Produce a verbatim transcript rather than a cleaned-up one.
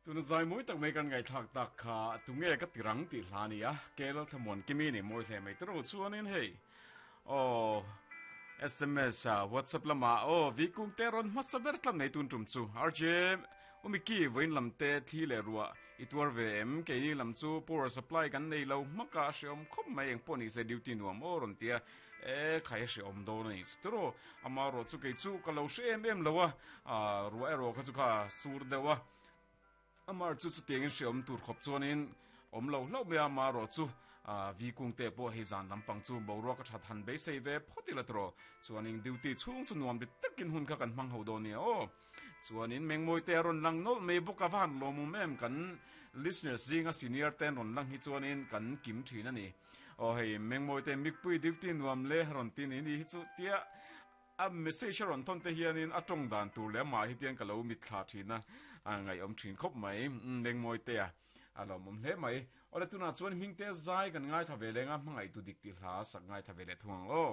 Tuna zai mawi tak mai kan ngaihthlak tak kha tunge ka tirang tih hla a ni a, Kel thlamuan kimi ni mawi hle mai tawrh chuanin hei aw S M S a WhatsApp lama aw vikung te rawn hmasa ber tlat mai tun tum chu R J umiki vawiin lam te thli leh ruah i tuar ve em? Keini lam chu power supply kan nei lo hmaka hreawm khawp mai, eng pawh ni se duty nuam aw rawn tia. E khai, hreawm dawn ani turo ama ro chu kei chu ka lo hre em em lo a, ruah erawh kha chu kha sur deuh a, amar chu chu tiangin hreawm tur khawp chuanin awm lo hlauh mai a. Ma ro chu vi kung te pawh hei zan lampang chu boruak a that han beisei ve phawt ila tawh, chuanin duty chhung chu nuam ti takin hun kha kan hmang ho dawn nia aw. Chuanin mengmawi te rawn lang nawlh mai bawk a, van lawmawm em! Kan listeners zinga senior ten rawn lang hi chuanin kan kim thin ani. Aw hei mengmawi te mikpui duty nuam le rawn ti ni ni hi chu tia a message rawn thon te hianin a tawng dan tur le ma hi tian ka lo mit thla thina a ngai om thin khawp mai. Mengmawi te a a lawmawm hle mai. Ole, tuna chuan hming te zai kan ngai tha ve lenga, hmangai tu dik ti hla sak ngai tha ve le thung ang aw.